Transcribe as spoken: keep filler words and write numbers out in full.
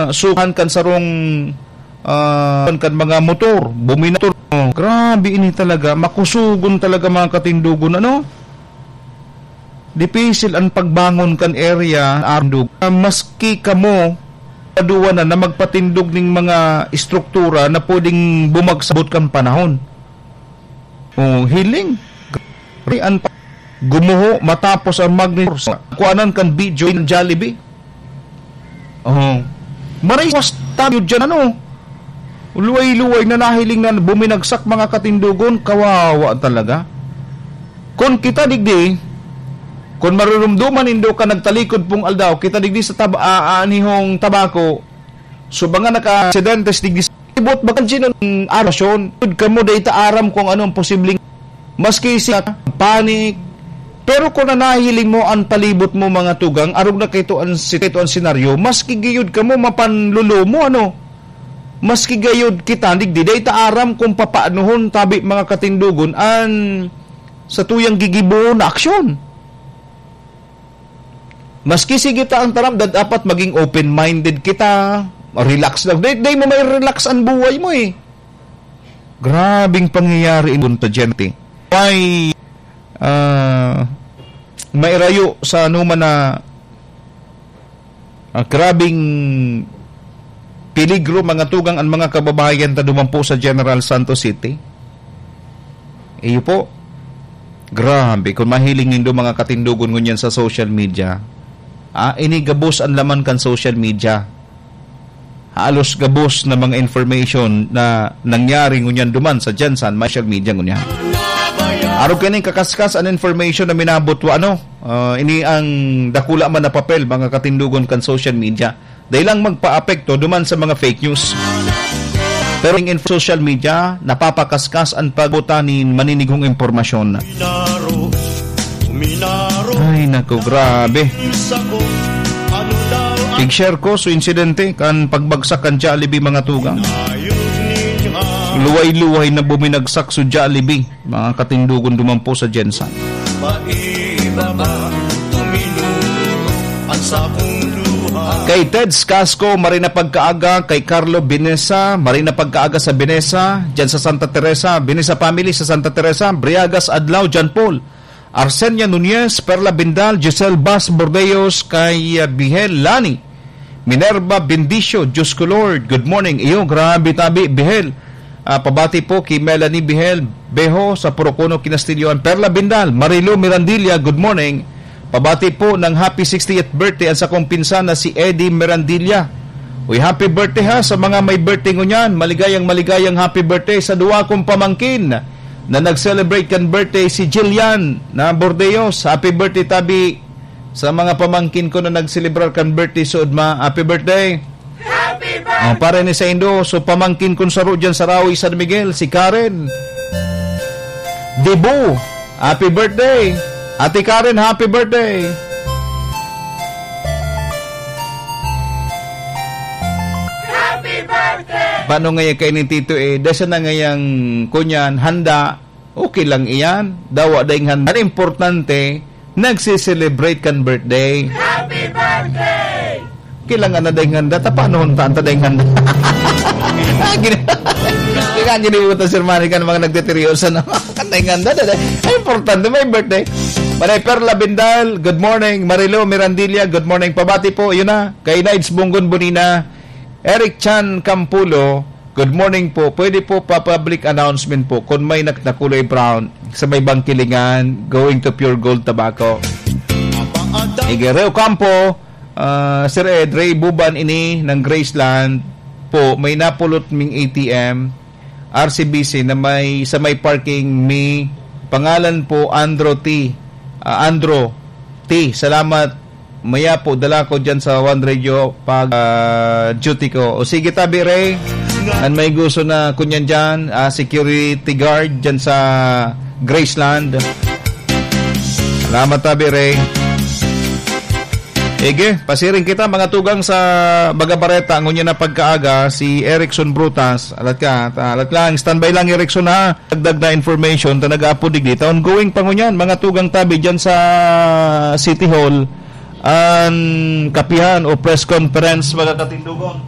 sukan kan sarong, ah, kan mga motor, buminator. Oh, grabe ini talaga, makusugon talaga, mga katindogon, ano? Dipisil an pagbangon kan area, arandog. Maski kamo, paduwa na, na magpatindog ning mga estruktura na pwedeng bumagsak kan panahon. Oh, hiling. An pa-, gumuho matapos ang magni-, kuanan kan video ng Jollibee. Oh. Maray was tayo dyan, ano? Luway-luway na nahiling na buminagsak, mga katindogon, kawawa talaga. Kun kita digdi, kun marurumduman nindo ka nagtalikod pong aldaw, kita digdi sa tab-, a-, anihong Tabaco, so, mga naka-aksidente digdi sa libot, baka dyan ang arasyon. Yun kamo, dai ta aram kung anong posibleng, maski si panic. Pero kung nanahiling mo ang palibot mo, mga tugang, arog na kaito ang sit-, ito ang senaryo, maski giyod kamo mapanlulumo, ano? Maski gayod kita, digdi, dai ta aram kung papaanohon tabi, mga katindogon, an sa tuyang gigibohon na aksyon. Maski sige ta ang taram, da-, dapat maging open-minded kita, relax lang. Dai, dai mo may relax ang buhay mo, eh. Grabing pangyayari in punta, gente. May, ah, mairayo sa anuman na, ah, grabing peligro, mga tugang, ang mga kababayan ta duman po sa General Santos City. Iyo po. Grabe, kung mahiling nindo, mga katindogon, ngunyan sa social media, ah, ini gabos ang laman kan social media. Halos gabos na mga information na nangyari ngunyan duman sa Gensan, may social media ngunyan. Arog kaning kakaskas an information na minabot wa, ano, ah, ini ang dakula man na papel, mga katindogon, kan social media. Dai lang magpaapekto duman sa mga fake news. Pero in social media, napapakaskas an pagbuta nin maninigong impormasyon. Ay, naku, grabe. Pig-share ko so insidente kan pagbagsak kan Jollibee, mga tugang. Luway-luway na buminagsak so Jollibee, mga katindogon, duman po sa Gensan. Kay Teds Casco, maray na pagkaaga. Kay Carlo Binesa, maray na pagkaaga sa Binesa, dyan sa Santa Teresa, Binesa family sa Santa Teresa, Briagas Adlaw, John Paul, Arsenia Nunez, Perla Bindal, Giselle Bas Bordeos, kay, ah, Bihel Lani, Minerva Bendicio, Diyos ko Lord, good morning. Iyo, grabe tabi, Bihel. Ah, pabati po kay Melanie Bihel Beho sa Porocono, Kinastilloan. Perla Bindal, Marilo Mirandilla, good morning. Pabati po ng happy sixtieth birthday ang sakong pinsan na si Eddie Mirandilla. Uy, happy birthday ha sa mga may birthday ngunyan. Maligayang, maligayang happy birthday sa duwa kong pamangkin na nag-celebrate kan birthday, si Jillian na Bordeos. Happy birthday, tabi, sa mga pamangkin ko na nagselebrar kan birthday, suod ma. Happy birthday! Happy birthday! Oh, para ni sa Indo, so pamangkin kun saro dyan sa Rawi, San Miguel, si Karen Dibu. Happy birthday! Ate Karen, happy birthday! Happy birthday! Paano ngaya kayo ni Tito eh? Dasa na ngayang kunyan, handa. Okay lang iyan. Dawa daing handa. Ang importante, nagse-celebrate kan birthday. Happy birthday! Kailangan na daing handa. Tapanahon ta, ta daing handa. Gini-, kaya ginibutan, Sir Manny, kan mga nagtitiryosa na kan daing handa. Dada. Ang importante, may birthday. Manay Perla Bindal, good morning. Marilo Mirandilla, good morning. Pabati po, yun na. Kay Nides Bunggon Bonina, Eric Chan Campulo, good morning po. Pwede po pa public announcement po kung may nak-, nakulay brown sa may Bangkilingan, going to Pure Gold Tobacco. Igereo Campo, ah, Sir Ed, Ray Buban ini ng Graceland po, may napulot ming A T M, R C B C, na may, sa may parking, may pangalan po, Andro T. Ah, Andro T. Salamat. Maya po, dala ko dyan sa One Radio pag, ah, duty ko. O sige, tabi, Ray. An may gusto na kunyan dyan, ah, security guard dyan sa Graceland. Salamat, tabi, Ray. Ige, pasiring kita, mga tugang, sa Baga Bareta. Ngunyan na pagkaaga, si Erickson Brutas. Alat ka, ta-, alat lang. Standby lang, Erickson, ha? Dagdag na information ta nag-aapod digdi ta. Ongoing pa ngunyan, mga tugang tabi dyan sa City Hall, an kapihan o press conference, mga katindogon.